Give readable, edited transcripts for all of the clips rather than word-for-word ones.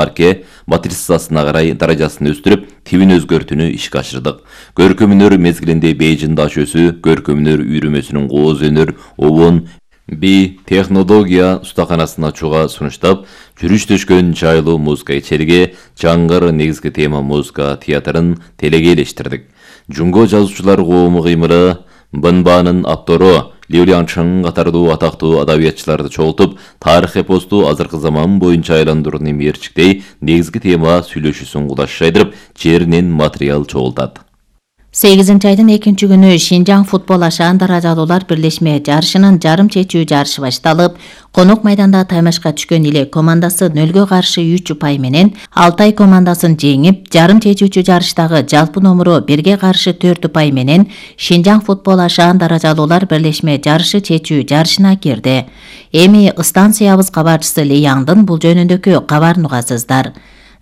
марке матрицасына карай даражасын өстүрүп, тибин өзгөртүүнү ишке ашырдык. Көркөм-өнөр мезгилинде бейжин даш өсү, көркөм-өнөр үйрөмөсүнүн кооз өнөр, обон, би технология устаканасын ачууга сунуштап, жүрүш төшкөн жайлуу музыка ичериги Жаңгыр негизги тема музыка театрын телегейлештирдик. Жунго жазуучулар коому кыймыры Бынбанын автору Лю Лянчың катардуу атактуу адабиятчыларды чогултуп, тарых эпосту азыркы заман боюнча айландырууну мерчиктей негизги тема сүйлөшүүсүн кудаш жайдырып, жеринен материал чогултат. 8-айдын 2-күнү Шинжаң футбол ашаан даражалуулар бирлешме жарышынын жарым чечүү жарышы башталып, конок майданда таймашка түшкөн Иле командасы 0-гө каршы 3 упай менен Алтай командасын жеңип, жарым чечүүчү жарыштагы жалпы номуру 1-ге каршы 4 упай менен Шинжаң футбол ашаан даражалуулар бирлешме жарышы чечүү жарышына кирди. Эми станциябыз кабарчысы Леяңдын бул жөнүндөгү кабарын угасыздар.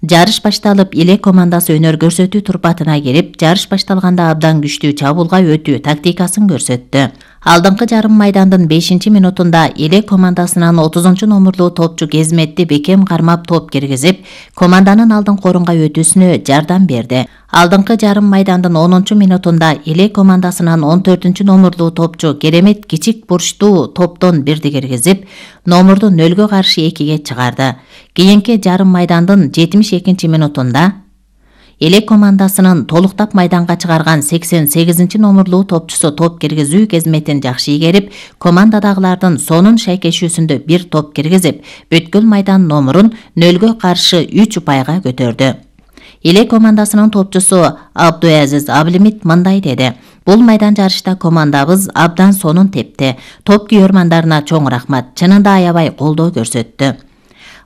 Жарыш башталып, Иле командасы өнөр көрсөтүү турпатына кирип, жарыш башталганда абдан күчтүү чабуулга өтүү тактикасын көрсөттү. Алдыңкы жарым майдандын 5-минутунда Иле командасынын 30-номурлуу топчу Кезметти бекем кармап топ киргизип, команданын алдыңкы орунга өтүүсүнө жардам берди. Алдыңкы жарым майдандын 10-минутунда Иле командасынын 14-номурлуу топчу Керемет кичик бурчтуу топтон бирди киргизип, номурду 0-гө каршы 2-ге чыгарды. Кийинки жарым майдандын 72-минутунда Иле командасынын толуктап майданга чыгарган 88-номурлуу топчусу топ киргизүү кезметин жакшы игерип, командадагылардын сонун шайкешүүсүндө бир топ киргизип, бүткүл майдан номурун 0-гө каршы 3 упайга көтөрдү. Иле командасынын топчусу Абдуазиз Аблимит мындай деди: "Бул майдан жарышта командабыз абдан сонун тепти. Топ күйөрмандарына чоң рахмат. Чынында аябай колдоо көрсөттү."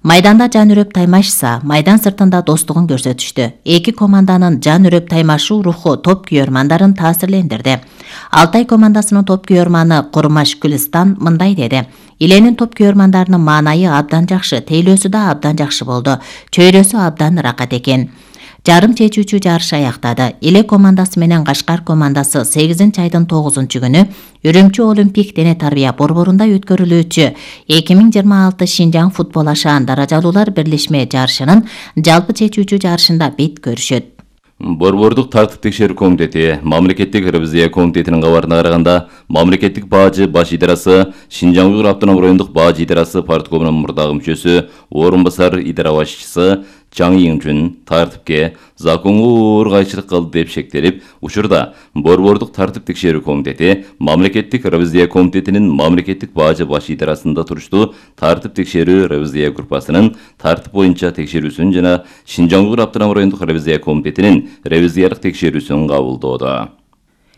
Майданда жан үрөп таймашса, майдан сыртында достугун көрсөтүштү. Эки команданын жан үрөп таймашуу руху топ күйөрмандарын таасирлендирди. Алтай командасынын топ күйөрманы Курмаш Гүлстан мындай деди: "Иленин топ күйөрмандарынын маанайы абдан жакшы, тейлөөсү да абдан жакшы болду. Чөйрөсү абдан ракат экен." Жарым чечүүчү жарыш аяктады. Иле командасы менен Кашкар командасы 8-айдын 9-күнү Үрүмчү Олимпик дене тарбия борборунда өткөрүлүүчү 2026 Шинжаң футбол ашаан даражалуулар бирлешме жарышынын жалпы чечүүчү жарышында бет көрүшөт. Борбордук тартип текшерүү комитети мамлекеттик ревизия комитетинин кабарына караганда, мамлекеттик бажы баш идарасы Шинжаң Уйгур автоном райондук бажы идарасы парткомунун мурдагы мүчөсү, орун басар идара башчысы Чаң Ийинчүн тартипке законго оор кайчылык кылды деп шектелип, учурда борбордук тартип текшерүү комитети мамлекеттик ревизия комитетинин мамлекеттик бажы баш идарасында туруштуу тартип текшерүү ревизия группасынын тартип боюнча текшерүүсүн жана Шинжаң Уйгур автоном райондук ревизия комитетинин ревизиялык текшерүүсүн кабылдоодо.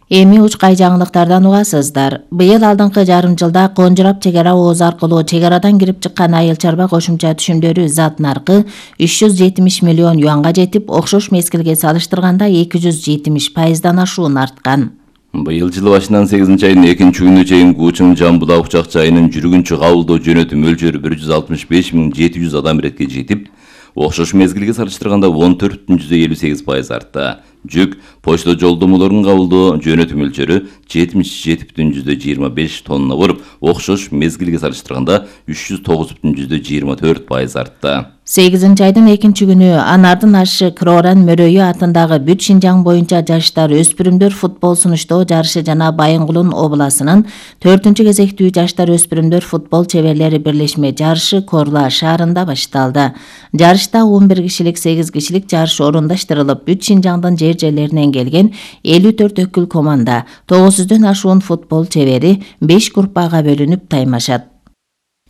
Эми учкай жаңылыктардан угасыздар. Быйыл алдыңкы жарым жылда Конжурап чек ара ооз аркылуу чек арадан кирип чыккан айыл чарба кошумча түшүмдөрү зат наркы 370 миллион юанга жетип, окшош мезгилге салыштырганда 270% ашуун арткан. Быйыл жыл башынан 8-айдын 2-күнүнө чейин Кучуң Жамбулак учак жайынын жүргүнчү кабылдоо жөнөтүү мөлчөрү 165.700 адам иретке жетип, окшош мезгилге салыштырганда 14,58% артты. Жүк, почта жолдомолорун кабылдоо жөнөтүү мөлчөрү 77,25 тонна болуп, окшош мезгилге салыштырганда 309,24% артты. 8-айдын 2-күнү Анардын ашы Кроран Мөрөйү атындагы бүт Шинжаң боюнча жаштар өспүрүмдөр футбол сунуштоо жарышы жана Байынгулун обласынын 4-кезектүү жаштар өспүрүмдөр футбол чеберлери бирлешме жарышы Корла шаарында башталды. Жарышта 11 кишилик 8 кишилик жарыш орундаштырылып, бүт Шинжаңдын жерлеринен келген 54 өкүл команда, 900дөн ашуун футбол чебери 5 группага бөлүнүп таймашат.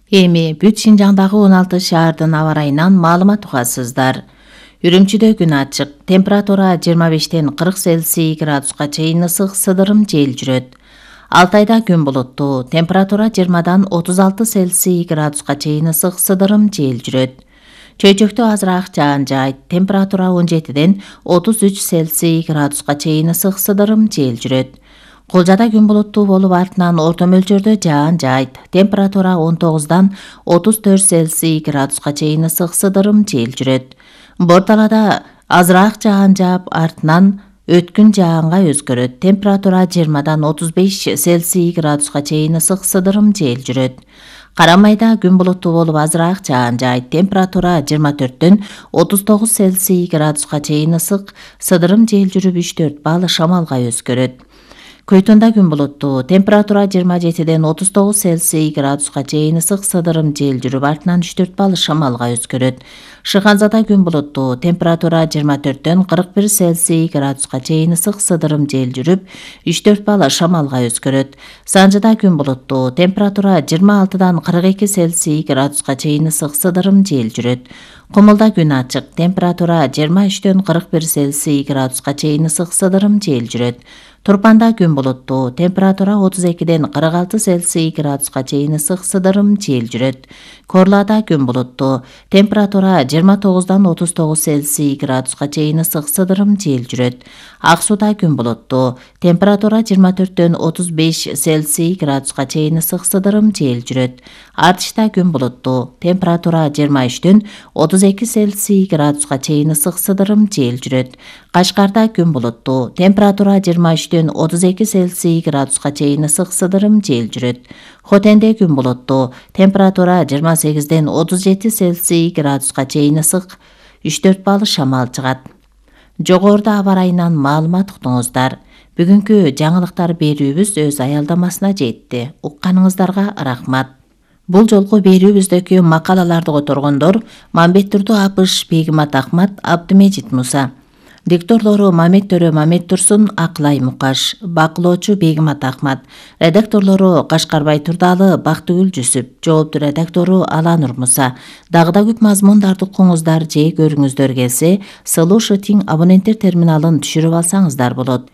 Эми бүт Шинжаңдагы 16 шаардын аба ырайынан маалымат угасыздар. Үрүмчүдө күн ачык, температура 25-тен 40 Цельсий градуска чейин ысык, сыдырым жел жүрөт. Алтайда күн булуттуу, температура 20-дан 36 Цельсий градуска чейин ысык, сыдырым жел жүрөт. Чөйчөктө азыраак жаан жаайт, температура 17-ден 33 Цельсий градуска чейин ысык, сыдырым жел жүрөт. Кулжада күн булуттуу болуп, артынан орто мөлчөрдө жаан жаайт, температура 19-дан 34 Цельсий градуска чейин ысык, сыдырым жел жүрөт. Борталада азыраак жаан жаап, артынан өткүн жаанга өзгөрөт, температура 20-дан 35 Цельсий градуска чейин ысык, сыдырым жел жүрөт. Кара майда күн булуттуу болуп азыраак жаан жаайт. Температура 24-төн 39 Цельсий градуска чейин ысык, сыдырым жел жүрүп 3-4 балл шамалга өзгөрөт. Көйтүндө күн булуттуу, температура 27-ден 39 Цельсий градуска чейин ысык, сыдырым жел жүрүп артынан 3-4 балл шамалга өзгөрөт. Шыханзада күн булуттуу, температура 24-төн 41 Цельсий градуска чейин ысык, сыдырым жел жүрүп 3-4 балл шамалга өзгөрөт. Санжыда күн булуттуу, температура 26-дан 42 Цельсий градуска чейин ысык, сыдырым жел жүрөт. Кумулда күн ачык, температура 23-төн 41 Цельсий градуска чейин ысык, сыдырым жел жүрөт. Турпанда күн булуттуу, температура 32-ден 46 Цельсий градуска чейин ысык, сыдырым жел жүрөт. Корлада күн булуттуу, температура 29-дан 39 Цельсий градуска чейин ысык, сыдырым жел жүрөт. Ак сууда күн булуттуу, температура 24-төн 35 Цельсий градуска чейин ысык, сыдырым жел жүрөт. Артышта күн булуттуу, температура 23-төн 32 Цельсий градуска чейин ысык, сыдырым жел жүрөт. Кашкарда күн булуттуу, температура 23-төн 32 Цельсий градуска чейин ысык, сыдырым жел жүрөт. Хотенде күн булуттуу, температура 28-ден 37 Цельсий градуска чейин ысык, 3-4 балл шамал чыгат. Жогоруда аба ырайынан маалымат уктуңуздар. Бүгүнкү жаңылыктар берүүбүз өз аялдамасына жетти. Укканыңыздарга рахмат. Бул жолку берүүбүздөгү макалаларды которгондор Мамбеттурду Апыш, Бегимат Ахмат, Абдымежит Муса. Дикторлору Мамет Төрө Мамет Турсун, Аклай Мукаш, бакылоочу Бегимат Ахмат, редакторлору Кашкарбай Турдалы, Бактыгүл Жүсүп, жоопту редактору Аланур Муса. Дагы көп мазмундарды укуңуздар же көрүңүздөр келсе, Solution абоненттер терминалын түшүрүп алсаңыздар болот.